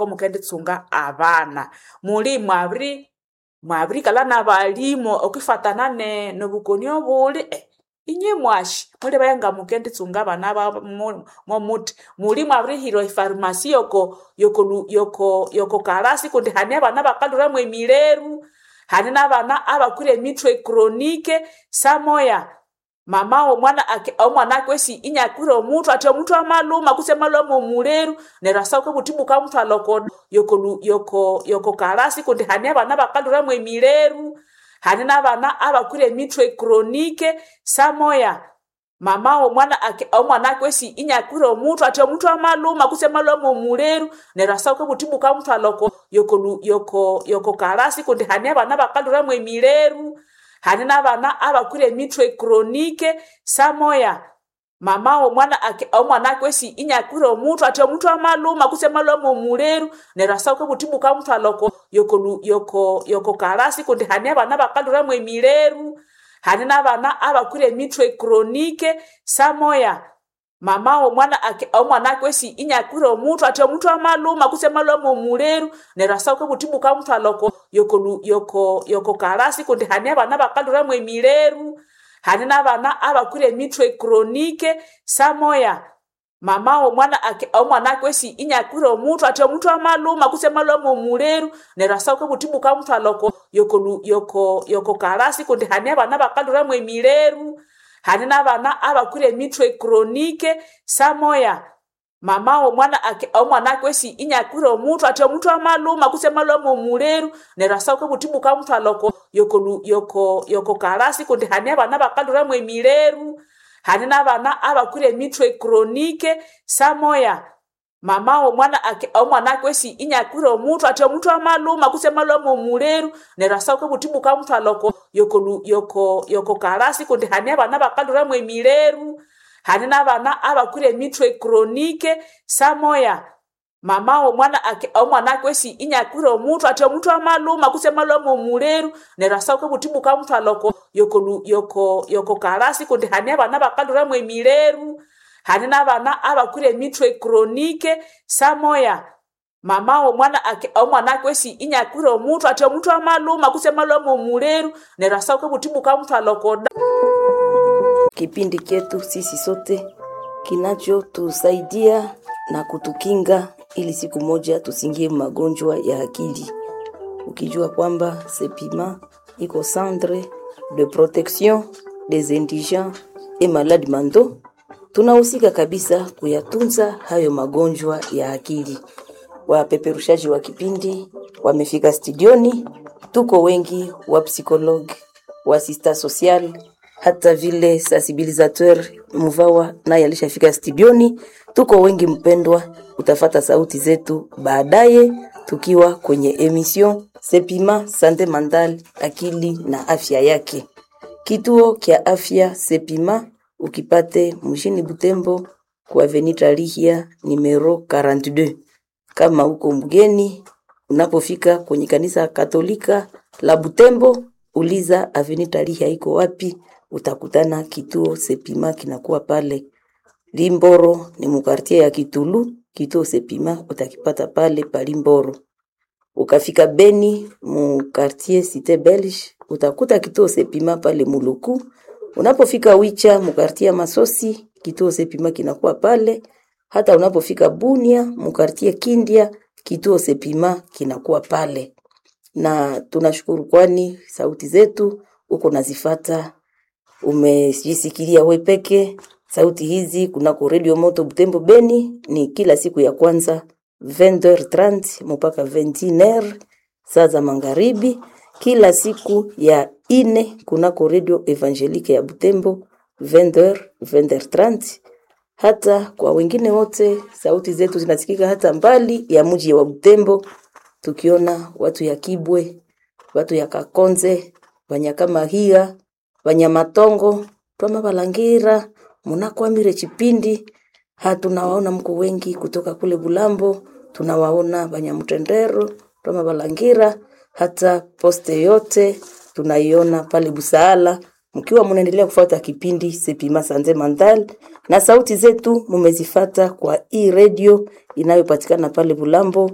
Ngoko mukenditsunga abana. Muli mwabirikalha n'abalimu okwifatana nobukoni obuli. Inywe mwashi mulibaye ngamukenditsunga abana momuthi. Muli mwabirihira efarmasi yoko kalasi kundi hane abana abakalhwira mwemileru, hane n'abana abakwire emithwe chronique. Samoya mama w'omwana omwana akwesi inyakwire omuthwe, athi omuthwe amalhuma kutse amalhwa mw'omuleru, neryo asauka obuthi bukamuthwalha oko kalasi kundi hane abana abakalhwira mwemileru, hane n'abana abakwire emithwe chronique. Samoya mama w'omwana omwana akwesi inyakwire omuthwe, athi omuthwe amalhuma kutse amalhwa mw'omuleru, neryo asauka obuthi bukamuthwalha oko kalasi kundi hane abana abakalhwira mwemileru, hane n'abana abakwire emithwe chronique. Samoya mama w'omwana omwana akwesi inyakwire omuthwe, athi omuthwe amalhuma kutse amalhwa mw'omuleru, neryo asauka obuthi bukamuthwalha oko kalasi kundi hane abana abakalhwira mwemileru, hane n'abana abakwire emithwe chronique. Samoya mama w'omwana omwana akwesi inyakwire omuthwe, athi omuthwe amalhuma kutse amalhwa mw'omuleru, neryo asauka obuthi bukamuthwalha oko kalasi kundi hane abana abakalhwira mwemileru, hane n'abana abakwire emithwe chronique. Samoya mama w'omwana omwana akwesi inyakwire omuthwe, athi omuthwe amalhuma kutse amalhwa mw'omuleru, neryo asauka obuthi bukamuthwalha oko kalasi kundi hane abana abakalhwira mwemileru, hane n'abana abakwire emithwe chronique. Samoya mama w'omwana omwana akwesi inyakwire omuthwe, athi omuthwe amalhuma kutse amalhwa mw'omuleru, neryo asauka obuthi bukamuthwalha oko kalasi kundi hane abana abakalhwira mwemileru, hane n'abana abakwire emithwe chronique. Samoya mama w'omwana omwana akwesi inyakwire omuthwe, athi omuthwe amalhuma kutse amalhwa mw'omuleru, neryo asauka obuthi bukamuthwalha oko kalasi kundi hane abana abakalhwira mwemileru, hane n'abana abakwire emithwe chronique. Samoya mama w'omwana omwana akwesi inyakwire omuthwe, athi omuthwe amalhuma kutse amalhwa mw'omuleru, neryo asauka obuthi bukamuthwalha oko kalasi kundi hane abana abakalhwira mwemileru, hane n'abana abakwire emithwe chronique. Samoya mama w'omwana omwana akwesi inyakwire omuthwe, athi omuthwe amalhuma kutse amalhwa mw'omuleru, neryo asauka obuthi bukamuthwalha. Kipindi chetu sisi sote kinachotusaidia na kutukinga ili siku moja tusingie magonjwa ya akili, ukijua kwamba Sepima iko centre de protection des indigents et malades mentaux, tunahusika kabisa kuyatunza hayo magonjwa ya akili. Wapeperushaji wa kipindi wamefika studioni, tuko wengi wa psychologue, wa assistant social, hata vile sensibilisateur Muvawa naye alishafika studioni. Tuko wengi mpendwa, utafata sauti zetu baadaye tukiwa kwenye emission Sepima Sante Mentale, akili na afya yake. Kituo kya afya Sepima ukipate mjini Butembo kwa Avenue Tarihia numero 42. Kama uko mgeni, unapofika kwenye kanisa Katolika la Butembo, uliza Avenue Tarihia iko wapi, utakutana kituo Sepima kinakuwa pale. Limboro ni mukartie ya Kitulu, kituo Sepima utakipata pale palimboro. Ukafika Beni mu quartier Cité Belge utakuta kituo Sepima pale Muluku. Unapofika Wicha mu quartier ya Masosi kituo Sepima kinakuwa pale. Hata unapofika Bunia mu quartier Kindia kituo Sepima kinakuwa pale. Na tunashukuru kwani sauti zetu uko nazifata, umejisikilia we peke sauti hizi kunako Radio Moto Butembo Beni ni kila siku ya kwanza 20h30 mpaka 21h saa za magharibi, kila siku ya ine kunako Radio Evangelique ya Butembo 20h 20h30. Hata kwa wengine wote sauti zetu zinasikika hata mbali ya mji wa Butembo, tukiona watu ya Kibwe, watu ya Kakonze, Wanyakamahia, Wanyamatongo, Twama Balangira, munakwamire chipindi hatunawaona mko wengi kutoka kule Bulambo, tunawaona Banyamutendero, Twama Balangira, hata poste yote tunaiona pale Busaala. Mkiwa munaendelea kufuata kipindi Sepima Sanze Mandal na sauti zetu mumezifata kwa i radio inayopatikana pale Bulambo.